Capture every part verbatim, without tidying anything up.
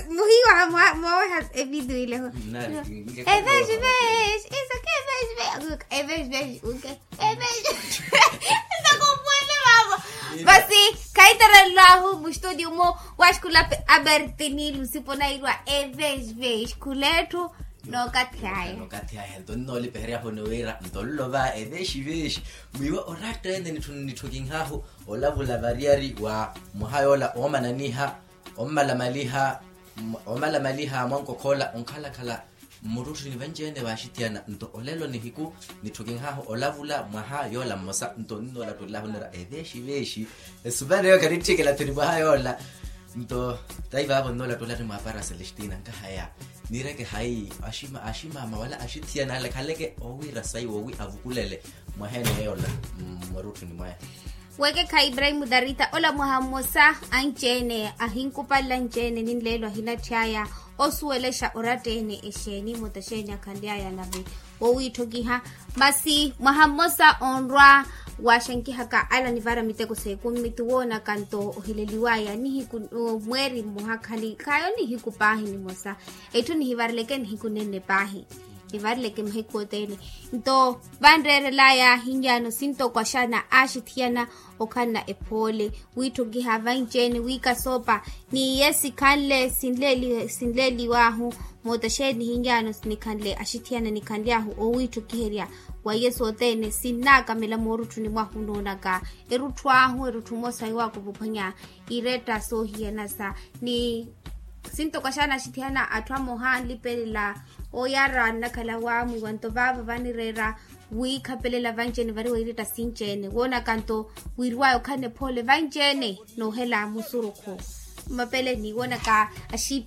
Muhiwa mwaweha evitu ile ho. Eveshi veshi iso ke eveshi veshi uke eveshi veshi uke eveshi. Iso kumwene vavo. Vasi khaiterelwahu mustudio mo, waxikulape abertini lusipo nairwa eveshi veshi khuletthu. Nokathi aya nokathi aya nto nnoolipeheryahu ni wira nto nlova eveshi veshi. Mwiiwa oratta ene nitthu nitthukinhahu olavula variyari wa mwaha yoola oomananiha ommalamaliha ommalamaliha mwankokhoola onkhalakhala mmurutthuni vanci-ene vaaxithiyana nto olelo nihiku nitthukinhahu olavula mwaha yoola mmosa nto nnoolattullahu nira eveexiveexi. Esuvaneyo khanitthikela thuni mwaha yoola nto tayi vaavo nnoolattulani mwaapara celestina nkahaya nireke hayi aximaama wala axithiyana alekhaleke owiira sayi wowi avukulele mwaha ene yoola mmurutthuni mwaya. Wekekha ibrahimu darita ola mwaha mmosa anci-ene ahinkupalela anci-ene ninleelo ahinatthi aya osuwelexa oratta-ene exeeni moota xeeni akhanly'aya nave wowiitthokiha. Masi mwaha mmosa onrwa waxenkihaka ala nivara miteko s'ekumi ti woonaka nto oheleliw'aya nihiku mweeri mmoha khali khayo nihiku paahi nimosa. Etthu nihivareleke nihiku nenne paahi nivarileke mahiku othene. Nto vanreerelaya hinyaano sintoko axaana aaxithiyana okhanna ephoole wiitthokiha vanci-ene wiikasoopa ni iye sikhanle sinleeliwaahu moota xeeni hinyaano nikhanle axithiyana nikhanly'ahu owiitthokiherya wa iye sothene sinnaakamela moorutthuni mwahu noonaka erutthu ahu erutthu mmosa iwaako vuphwanya iretta soohiyanasa ni sintoko axaana axithiyana atthu amoha anlipelela oyara nnakhala waamwiiwa nto vaavo vanireera wiikhapelela vanci-ene variwa iretta sinci-ene woonaka nto wiiriwaya okhanne phoole vanci-ene noohela musurukhu. Mapele niwonaka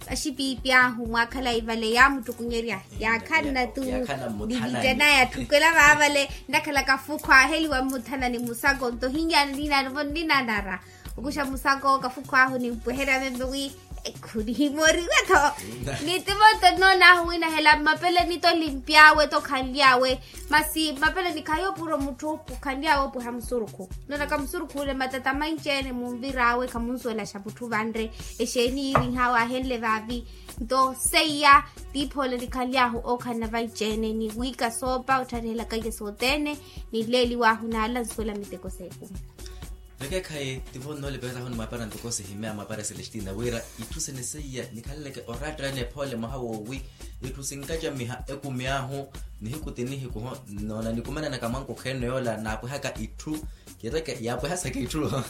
axipiipi ahu mwakhalayi vale yaamuttukunyerya yaakhanna tu nivittanaya atthukela vaavale nnakhala kafukhu aaheliwa mmuthanani musako nto hinyana ninanara okuxa musako kafukhu ahu nimpweherya veve wi ekhunihimooriwe-tho. Ni timoto nnoon'ahu winahela mmapeleni to limpy'awe to khanly'awe masi mmapeleni khayo puro mutthu khanly'awe opweha musurukhu nnoonaka musurukhu ole matata manci-ene munvir'awe khamunsuwelaxa mutthu vanre exeeni yiirinh'awe aahenle vaavi. Nto seiya tiiphoole nikhanly'ahu ookhanna vanci-ene ni wiikasoopa ottharihelaka iye sothene ninleeliw'ahu n'ala nsuwela miteko s'ekumi. Vekekhayi tivo nnoolipelelahu ni mwaapara ntoko sihimeya mwaapara celestina wira itthu sene seiya nikhaleleke oratta-ene ephoole mwaha woowi itthu sinkacamiha ekumi ahu nihiku ti nihiku ho noona nikumananaka mwankokho ene yoola naapwehaka itthu. Kireke yaapwehasaka itthu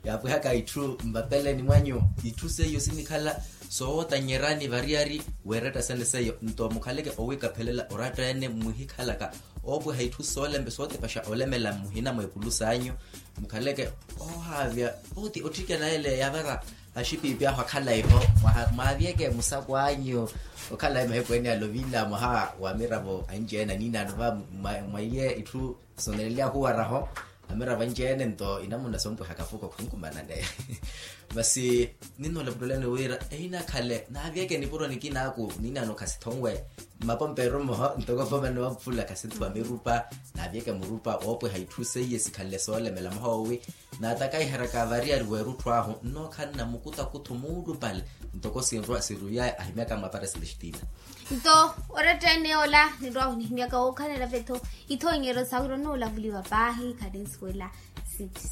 yaapwehaka itthu mmapeleni mwanyu itthu seiyo sinikhala soowotanyerani variyari w'eretta sene seiyo nto mukhaleke owiikaphelela oratta-ene muhikhalaka oopweha itthu sootepaxa olemela muhina mweekulu s'anyu mukhaleke ohaavya oti otthikana ele yavara axipiipi ahu akhalayi-ho mwaavyeke musako anyu okhalayi mahiku ene alovila mwaha wa miravo anci-ene aninaano va mwa iye itthu soonelelyahu waraho amiravo anci-ene nto inamuna sompweha kafuko khunkumanane. Masi ninnoolaputtulani wira ehinakhale naavyeke nipuro nikinaaku ninaano khasithonwe mmapomperu mmoho ntoko vomani wa mpula khasinthuwa mirupa naavyeke murupa woopweha itthu seiye sikhanle soolemela mwaha woowi naatakaiheraka variyari w'erutthu ahu nnookhanna mukutakuthu muulupale ntoko sinrwa siruyaya ahimyaka mwaapara celestina. Nto oratta-ene yoola ninrwahu nihimyaka wookhanela vetho ithonyeryo sawira onnoolavuliwa paahi khaninsuwela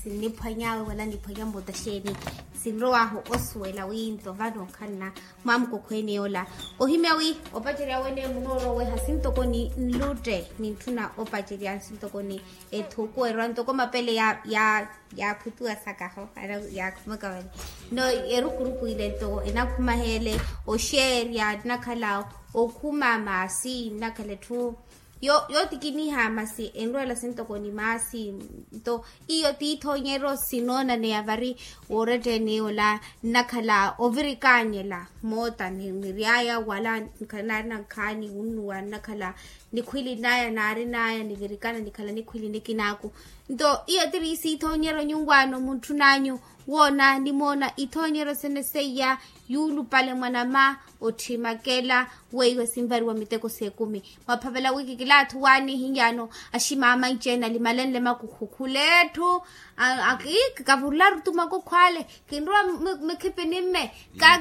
sinniphwany'awe wala niphwanya mmoota xeeni sinrow'ahu osuwela wi nto vano okhanna mwaamukokho ene yoola ohimya wi opacerya wene munooroweha sintoko ni nlutte nintthuna opacerya sintoko ni ethuku erwa ntoko mapele ya ya yaaphutuwa sakaho yaakhumaka vale no erukuruku ile nto enakhumaheele oxeerya nnakhala okhuma maasi nnakhala etthu yootikiniha masi enrweela sintoko ni maasi nto iyo tiithonyeryo sinoonaneya vari woorettene ola nnakhala ovirikaanyela moota niry'aya wala nkhala naarina nkhaani wunnuwa nnakhala nikhwili naya naarinaya nivirikana nikhala nikhwili nikinaaku nto iyo tiri siithonyeryo nyunwaano muntthun'anyu woona nimoona ithonyeryo sene seiya yuulupale mwanama otthimakela weiwe sinvariwa miteko s'ekumi mwaphavela wiki kilaathu waani hiyaano aximaama inci-ene alimalenle makukhu khula etthu akavurularu tu makukhu ale kinrowa mikhipini mme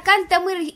kantte mwiri